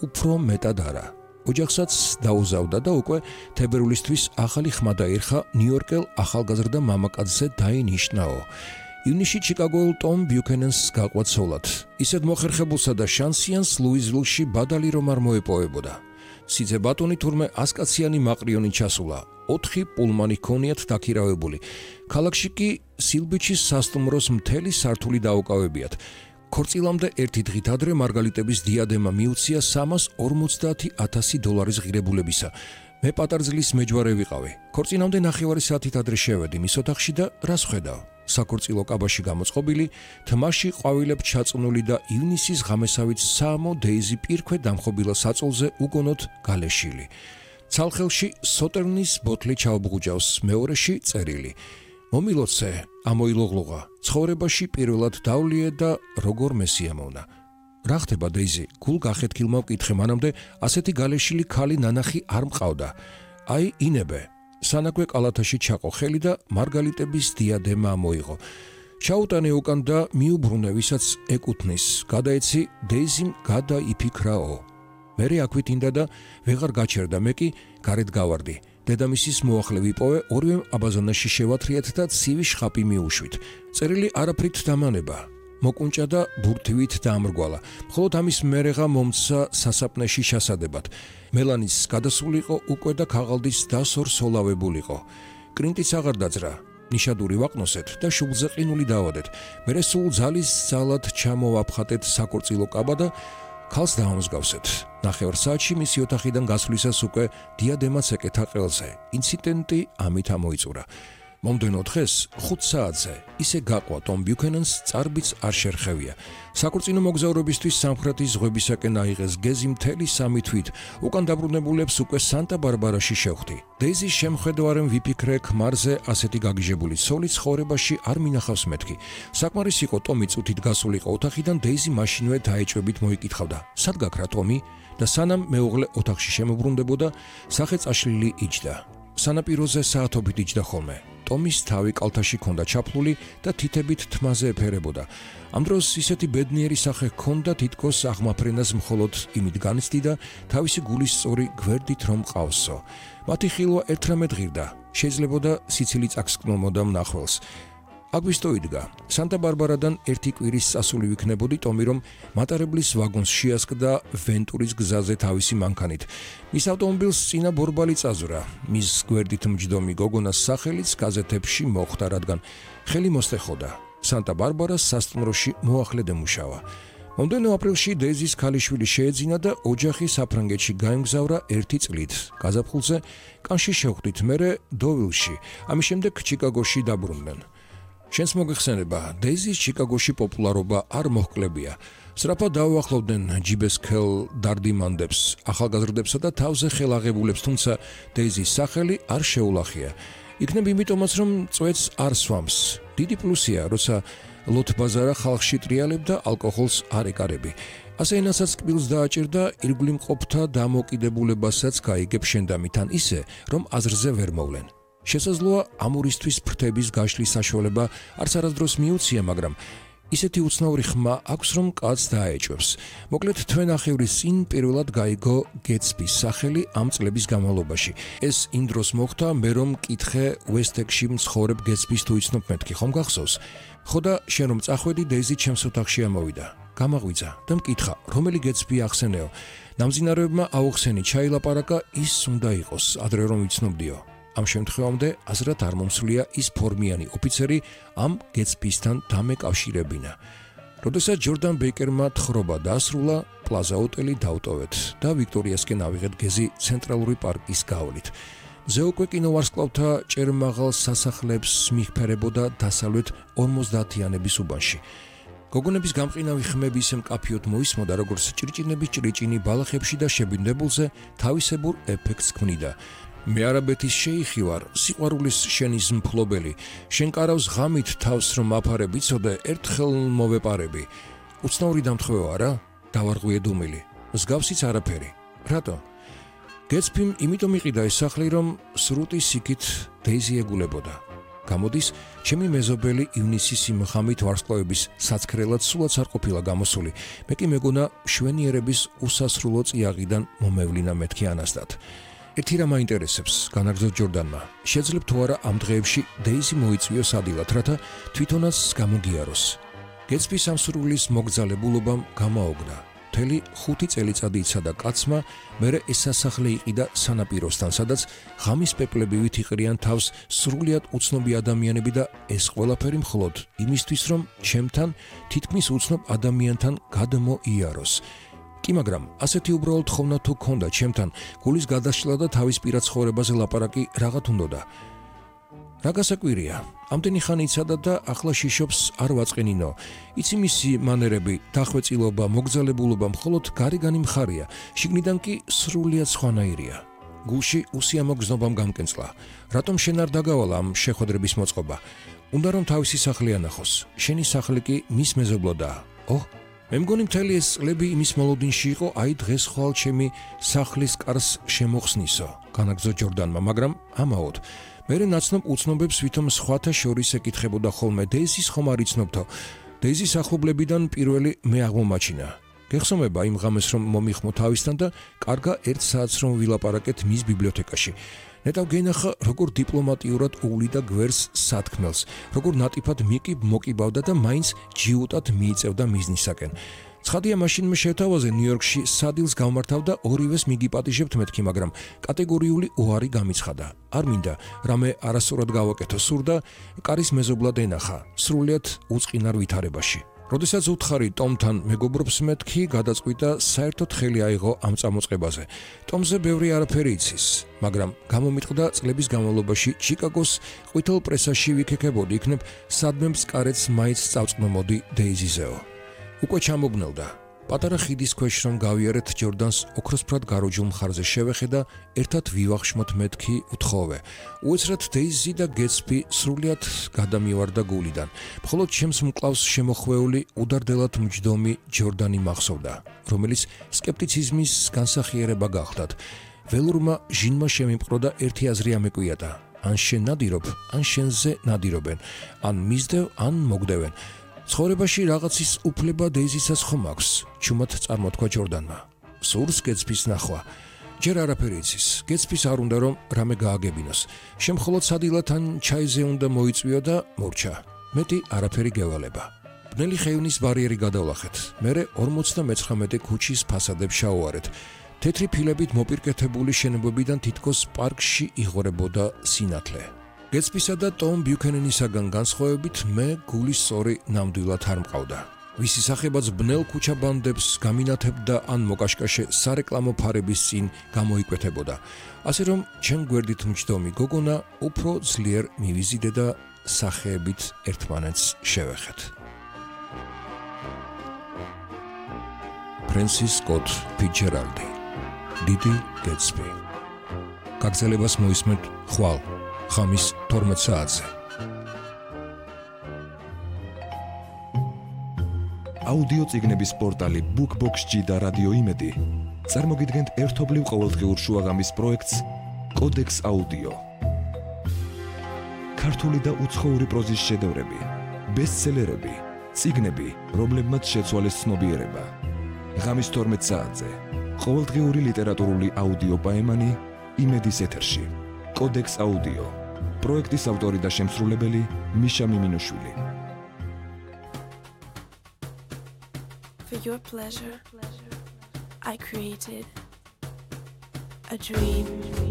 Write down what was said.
უფრო მეტად არა. ოჯახსაც დაუზავდა და უკვე თებერვლისთვის ახალი ხმა დაირხა ნიუ-იორკელ ახალგაზრდა მამაკაცზე დაინიშნაო. ივნისში ჩიკაგოელ ტომ ბიუქენენს გაყვა ცოლად. ისეთ მოხერხებულსა და შანსიანს ლუიზვილში ბადალი რომ არ მოეპოვებოდა. სიძე ბატონი თურმე 100-კაციანი მაყრიონი ჩასულა. 4 პულმანი ჰქონიათ დაქირავებული. ქალაქში კი სილბიჩის სასტუმროს მთელი სართული დაუკავებიათ. ქორწილამდე ერთი დღით ადრე მარგალიტების დიადემა მიუცია $350,000 ღირებულებისა. მე პატარძლის მეჯვარე ვიყავი. ქორწინამდე 9 საათით ადრე შევედი მის ოთახში და რას ხედავ? საკორწილო კაბაში გამოწყობილი, თმაში ყვავილებ ჩაწუნული და ივნისის ღამესავით საამო დეიზი პირქვე დამხობილა საწოლზე უგონოდ გალეშილი. ცალხელში სოტერნის ბოთლი ჩაუბღუჯავს, მეორეში წერილი. მომილოცე, ამოილოღლოღა, ცხოვრებაში პირველად დავლიე და როგორ მესიამოვნა. რა ხდება დეიზი? გულ გახეთქილმა ვკითხე, მანამდე ასეთი გალეშილი ქალი ნანახი არ მყავდა. აი ინებე. სანაგვე კალათაში ჩაყო ხელი და მარგალიტების დიადემა მოიღო. ჩაუტანე უკან და მიუბრუნე, ვისაც ეკუთვნის. გადაეცი დეიზიმ გადაიფიქრაო. მერე აქვიტინდა და ვეღარ გაჩერდა, მე კი გარეთ გავარდი. დედამისის მოახლე ვიპოვე, ორივე აბაზანაში შევათრიათ და ცივი შხაპი მიუშვით. წერილი არაფრით დამანება. მოკუნჭა და ბურთივით დაამრგვალა. მხოლოდ ამის მერეღა მომცა სასაფნეში ჩასადებად. მელანის გადასულიყო უკვე და ქაღალდის დასორსოლავებულიყო. კრინტიც აღარ დაძრა. ნიშადური ვაყნოსეთ და შუბლზე ყინული დავადეთ. მერე სულ ძალის ძალად ჩამოვაფხატეთ საკორწილო კაბა და ქალს დაამსგავსეთ. 9 საათში მისი ოთახიდან გასვლისას უკვე დიადემაც ეკეთა ყელზე. ინციდენტი ამით ამოიწურა. მომდენო დღეს 5 საათზე ისე გაყვა ტომ ბიუქენენს წარბიც არ შერხევია. საკორწინო მოგზაურობისთვის სამხრეთის ზღვებისაკენ აიღეს გეზი მთელი 3 თვით. უკან დაბრუნებულებს უკვე სანტა-ბარბარაში შევხვდი. დეიზის შემხედვარემ ვიფიქრე, ქმარზე ასეთი გაგიჟებული ცოლი ცხოვრებაში არ მინახავს მეთქი. საკმარის იყო ტომი წუთით გასულიყო ოთახიდან, დეიზი მაშინვე დაეჭვებით მოიკითხავდა. სად გაქრა ტომი? და სანამ მეუღლე ოთახში შემოbrunდებოდა, სახე წაშლილი იჯდა. სანაპიროზე საათობით იჯდა ხოლმე. ტომის თავი კალთაში ჰქონდა ჩაფლული და თითებით თმაზე ეფერებოდა. ამ დროს ისეთი ბედნიერი სახე ჰქონდა, თითქოს აღმაფრენას მხოლოდ იმით განიცდი და თავისი გულის სწორი გვერდით რომ ყავსო. მათი ხილვა ერთრამედ ღირდა. შეიძლებოდა სიცილი წაგსკნომოდა მნახველს. აგვისტო იდგა. სანტა-ბარბარადან ერთი კვირის წასული ვიქნებოდი ტომი, რომ მატარებლის ვაგონს შეასკდა ვენტურის გზაზე თავისი მანქანით. მის ავტომობილს წინა ბორბალი წაზვრა. მის გვერდით მჯდომი გოგონას სახელიც გაზეთებში მოხვდა, რადგან ხელი მოსთეხოდა. სანტა-ბარბარას სასტუმროში მოახლე დემუშავა. მომდენო აპრილში დეიზის ქალიშვილი შეეძინა და ოჯახი საფრანგეთში გაემგზავრა 1 წლით. გაზაფხულზე კანში შევხვდით, მერე დოვილში, ამის შემდეგ ჩიკაგოში დაბრუნდნენ. შენს მოგეხსენება, დეიზის ჩიკაგოში პოპულარობა არ მოჰკლებია. სრაფად დაუახლოვდნენ ჯიბესქელ დარდიმანდებს, ახალგაზრდებსა და თავზე ხელაღებულებს, თუმცა დეიზის სახელი არ შეულახია. იქნებ იმიტომაც, რომ წვეთს არ სვამს. დიდი პლუსია, როცა ლოთბაზარა ხალხში ტრიალებდა ალკოჰოლს არ ეკარები. ასე ენასაც კბილს დააჭირდა, ირგვლივ მყოფთა დამოკიდებულებასაც გაიგებ შენდამითან ისე, რომ აზრზე ვერ მოვლენ. შესაძლოა ამურისთვის ფრთების გაშლის საშუალება არც არასდროს მიუცია, მაგრამ ისეთი უცნაური ხმა აქვს, რომ კაცს დაეჭვებს. მოკლედ თვენახევრის წინ პირველად გაიგო გეტსბის სახელი ამ წლების განმავლობაში. ეს იმ დროს მოხდა, მე რომ მკითხე უესტექსში მცხოვრებ გეტსბის თუ იცნობ მეთქი, ხომ გახსოვს? ხო და შენ რომ წახვედი, დეიზი ჩემს ოთახში ამოვიდა. გამაღვიძა და მკითხა, რომელი გეტსბი ახსენეო? ნამძინარეებმა აუხსენი, ჩაილაპარაკა, ის უნდა იყოს, ადრე რომ ვიცნობდიო. ამ შემთხვევამდე აზრად არ მომსვლია ის ფორმიანი ოფიცერი ამ გეტსბისთან დამეკავშირებინა. როდესაც ჯორდან ბეიკერმა თხრობა დაასრულა, პლაზა ოტელი დავტოვეთ და ვიქტორიასკენ ავიღეთ გეზი ცენტრალური პარკის გავლით. მზე უკვე კინოვარსკვლავთა ჭერმაღალ სასახლეებს მიჰფერებოდა დასავლეთ 50-იანების უბანში. გოგონების გამყინავი ხმები ისე მკაფიოდ მოისმოდა, როგორც ჭრიჭინების ჭრიჭინი ბალახებში და შებინდებულზე თავისებურ ეფექტს ქმნიდა. მე არაბეთის შეიხი ვარ, სიყვარულის შენის მფლობელი. შენ კარავს ღამით თავს რომ აფარებ, იცოდე, ერთხელ მოვეპარები. უცნაური დამთხვევა არა? დავარღვიე დუმილი. მსგავსიც არაფერი. რატო? გეტსბიმ იმიტომ იყიდა ეს სახლი, რომ სრუტის იქით დეიზი ეგულებოდა. გამოდის, ჩემი მეზობელი ივნისის იმ ღამით ვარსკვლავების საცქრელად სულაც არ ყოფილა გამოსული. მე კი მეგონა შვენიერების უსასრულო წიაღიდან მომევლინა მეთქი ანასტად. ერთი რამ აინტერესებს, განაგრძო ჯორდანმა. შეძლებ თუ არა ამ დღეებში დეიზი მოიწვიოს ადილად, რათა თვითონაც გამოგიაროს. გეცბის ამ სრულის მოგზალებულობამ გამაოგნა. მთელი 5 წელიწადი იცადა კაცმა, მერე ეს სასახლე იყიდა სანაპიროსთან, სადაც ღამის პეპლებივით იყრიან თავს სრულიად უცნობი ადამიანები და ეს ყველაფერი მხოლოდ იმისთვის, რომ ჩემთან თითქმის უცნობ ადამიანთან გადმოიაროს. კი, მაგრამ ასეთი უბრალოდ ხოვნა თუ ქონდა ჩემთან, გულის გადაშლა და თავის პირად ცხოვრებაზე ლაპარაკი რაღაც უნდოდა. რა გასაკვირია, ამდენი ხანი იცადა და ახლა შიშობს არ ვაწყენინო. იცი მისი მანერები, დახვეწილობა, მოგზალებულობა მხოლოდ გარეგანი მხარია, შიგნიდან კი სრულიად სხვანაირია. გულში უსიამო გზნობამ გამკენწლა. რატომ შენ არ დაგავალ ამ შეხვედრების მოწყობა? უნდა რომ თავისი სახლი ანახოს. შენი სახლი კი მის მეზობლოდაა. ოჰ, მე მგონი მთელი ეს წლები იმის მოლოდინში იყო, აი დღეს ხვალ ჩემი სახლის კარს შემოხსნისო, განაგრძო ჯორდანმა, მაგრამ ამაოდ მერე ნაცნობ უცნობებს ვითომ სხვათა შორის ეკითხებოდა ხოლმე, დეიზის ხომ არ იცნობთო? დეიზის ახლობლებიდან პირველი მე აღმომაჩინა. გეხსოვნება იმ ღამეს რომ მომიხმო თავისთან და კარგა 1 საათს რომ ვილაპარაკეთ მის ბიბლიოთეკაში. ნეტავ გენახა როგორ დიპლომატიურად უვლიდა გვერს სათქმელს, როგორ ნატიფად მოკიბავდა და მაინც ჯიუტად მიიწევდა მიზნისაკენ. ცხადია მაშინ მე შევთავაზე ნიუ-იორკში სადილს გავმართავ და ორივეს მიგიპატიჟებთ მეთქი, მაგრამ კატეგორიული უარი გამიცხადა. არ მინდა რამე არასწორად გავაკეთო, სურდა კარის მეზობლად ენახა, სრულიად უწყინარ ვითარებაში. როდესაც უთხარი ტომთან მეგობრობს მეთქი, გადაწყვიტა საერთოდ ხელი აიღო ამ წამოწყებაზე. ტომზე ბევრი არაფერი იცის, მაგრამ გამომიტყდა წლების განმავლობაში ჩიკაგოს ყვითელ პრესაში ვიქეკებოდი, იქნებ სადმე მწკარეთს მაინც წავწყნომოდი დეიზიზეო. უკვე ჩამოგნელდა. პატარა ხიდის ქვეშ რომ გავიარეთ, ჯორდანს ოქროსფრად გაროჯულ მხარზე შევეხე და ერთად ვივახშმოთ მეთქი უთხოვე. უეცრად დეიზი და გეცბი სრულიად გადამივარდა გულიდან. მხოლოდ ჩემს მკლავს შემოხვეული უდარდელად მჯდომი ჯორდანი მახსოვდა, რომელიც სკეპტიციზმის განსახიერება გახლდათ. ველურმა ჟინმა შემიმყრო და ერთი აზრი ამეკვიატა: ან შენ ნადირობ, ან შენზე ნადირობენ, ან მისდევ, ან მოგდევენ. ცხოვრებაში რაღაცის უფლება დეიზისაც ხომ აქვს, ჩუმად წარმოთქვა ჯორდანმა. სურს გეცბის ნახვა. ჯერ არაფერი იცის, გეცბის არ უნდა რომ რამე გააგებინოს. შემხოლოდ სადილად ან ჩაიზე უნდა მოიწვიო და მორჩა. მეტი არაფერი გევალება. ბნელი ხეივნის ბარიერი გადავლახეთ. მერე 59 ქუჩის ფასადებს შაუარეთ. თეთრი ფილებით მოპირკეთებული შენობებიდან თითქოს პარკში იღორებოდა სინათლე. გეცბისა და ტომ ბიუქენენისაგან განსხვავებით მე გულის სწორი ნამდვილად არ მყავდა. ვისი სახებაც ბნელ ქუჩაბანდებს გამინათებდა ან მოკაშკაშე სარეკლამო ფარების წინ გამოიკვეთებოდა. ასე რომ ჩემ გვერდით მჯდომი გოგონა უფრო ძლიერ მივიზიდე და სახეებით ერთმანეთს შევეხეთ. ფრენსის სკოტ ფიცჯერალდი, დიდი გეცბი. გაგრძელებას მოისმენთ ხვალ ხამის 12 საათზე. აუდიო წიგნების პორტალი BookBox-ში და რადიო იმედი წარმოგიდგენთ ერთობლივ ყოველდღიურ შუაღამის პროექტს კოდექს აუდიო. ქართული და უცხოური პროზის შედევრები, ბესტსელერები, წიგნები, რომლებმაც შეცვალეს ცნობიერება. ღამის 12 საათზე ყოველდღიური ლიტერატურული აუდიო პაემანი იმედის ეთერში. კოდექს აუდიო. პროექტის ავტორი და შემსრულებელი მიშა მიმინუშვილი. For your pleasure, I created a dream.